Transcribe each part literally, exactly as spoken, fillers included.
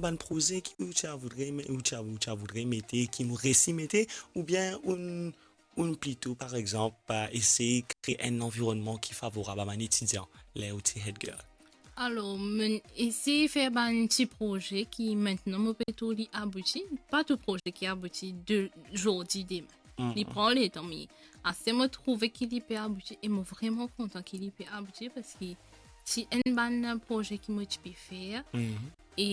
bann proze ki ou ti a voudre me-, ou ti a, ou ti a voudre mete, ki ou resi mete, oubien ou, ou plito, par exanp, esey kree enn lanvironnman ki favorab a bann etidian, ler ou ti head girl? Alor, mo esey fer bann ti proze ki mintnan mo pe trouv li abouti, pa tou proze ki abouti de zordi demin. Mhm. Li pran letan, me aster mo trouve ki li pe abouti, e mo vreman kontan ki li pe abouti, parski ti enn bann proze ki mo ti pe fer. Mhm. E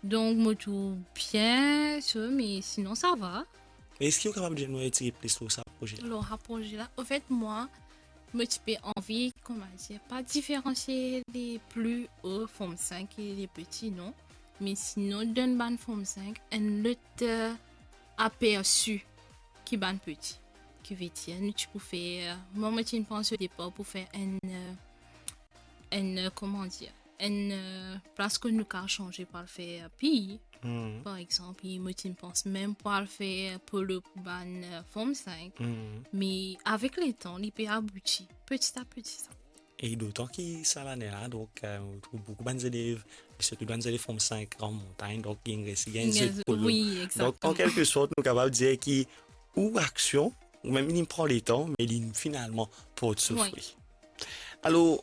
donk, mo trouv bien, so, me sinon, sa va. Eski ou kapav dir nou enn ti plis lor sa proze la? Lor sa proze la, anfet, mwa, mo ti pe anvi, kouma dir, pa diferansie le pli o Form Five e le peti, non. Me sinon, donn bann Form Five enn lot, eh, apersi ki bann peti. Ki vedir, nou ti pou fer, mwa, mo ti pans o depar pou fer enn, eh, enn, eh, kouma dir, enn, eh, plas kot nou kav sanze pou al fer PE. Mhm. Par exanp, mo ti pans mem pou al fer polo pou bann, eh, Form Five. Mhm. Me avek letan, li pe abouti, peti a peti sa. E dotan ki sa lane la, donk, eh, nou trouv boukou bann zelev, sirtou bann zelev Form Five Grand Montagne, donk, ki inn resi gagn zot polo. Wi, donk, an kelke sort, nou kapav dir ki ou aksion, ou mem li pran letan, me li finalman port so fri. Wi. Alor,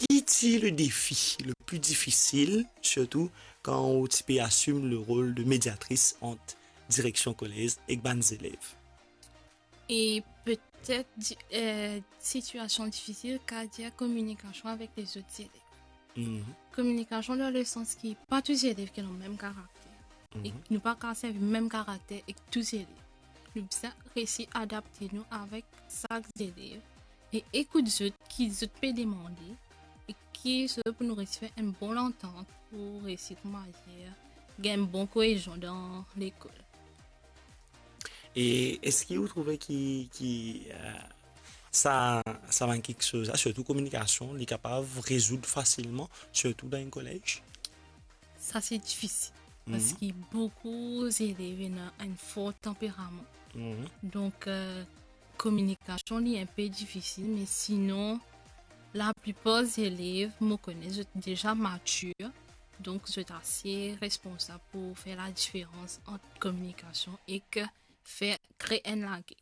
ki ti le defi le pli difisil, sirtou kan ou ti pe asim le rol de mediatris ant direksion kolez ek bann zelev? E petet, di-, eh, sitiasion difisil, kav dir kominikasion avek lezot zelev. Mhm. Kominikasion dan lesans ki pa tou zelev ki ena mem karakter. E nou pa kav servi mem karakter ek tou zelev. Nou bizin resi adapte nou avek sak zelev e ekout zot, ki zot pe demande, e ki zot pou nou resi fer enn bon lantant pou resi, kouma dir, gagn bon koezion dan lekol. E eski ou trouve ki, ki, eh, sa, sa bann kiksoz la, sirtou kominikasion, li kapav rezoud fasilman, sirtou dan enn kolez? Sa se difisil, mhm, parski boukou zelev ena enn for tanperaman. Mhm. Donk, eh, kominikasion li enpe difisil, me sinon, laplipar zelev, mo kone zot deza matir, donk zot ase responsab pou fer ladiferans ant kominikasion ek fer, kree enn lager.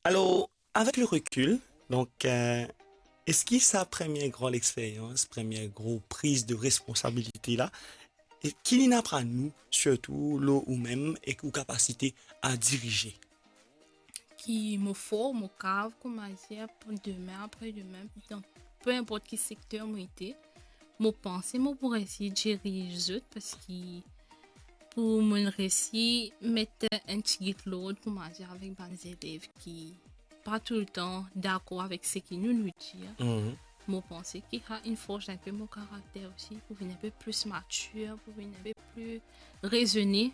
Alor, avek le rekil, donk, eh, eski sa premie gran lexperyans, premie gro priz de responsabilite la, e ki li'nn aprann ou, sirtou lor ou mem ek ou kapasite a dirize? Ki mo for, mo kav, kouma dir, pou demin, apre demin, dan pe inport ki sekter mo ete, mo panse mo pou resi diriz zot, parski pou mo resi met enn tigit lord, kouma dir, avek bann zelev ki pa toultan dakor avek seki nou, nou dir. Mhm. Mo panse ki sa inn fors inpe mo karakter osi, pou vinn inpe plis matir, pou vinn inpe pli rezone,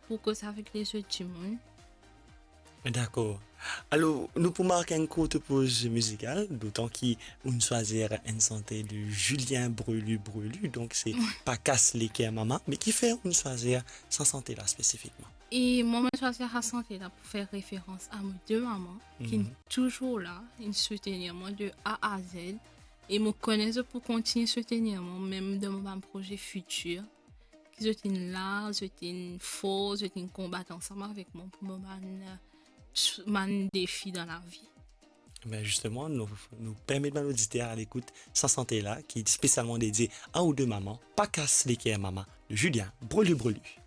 pou koz avek lezot dimoun. Dakor. Alor, nou pou mark enn kourt poz mizikal, dotan ki ou'nn swazir enn sante de Julien Brelu Brelu, donk se Pa kas leker mama, me kifer ou'nn swazir sa sante la spesifikman? E mwa, mo swazir sa sante la pou fer referans a mo de mama, ki, mhm, touzour la, inn soutenir mwa de A a Z, e mo kone zot pou kontign soutenir mwa, mem dan mo bann proze fitir, ki zot inn la, zot inn for, zot inn konbat ansam avek mwa pou mo bann, eh, bann defi dan lavi. Ben, zisteman, nou, nou permet bann oditer al ekout sa sante la, ki spesialman dedie a ou de mama, Pa kas leker mama, de Julien Brelu Brelu.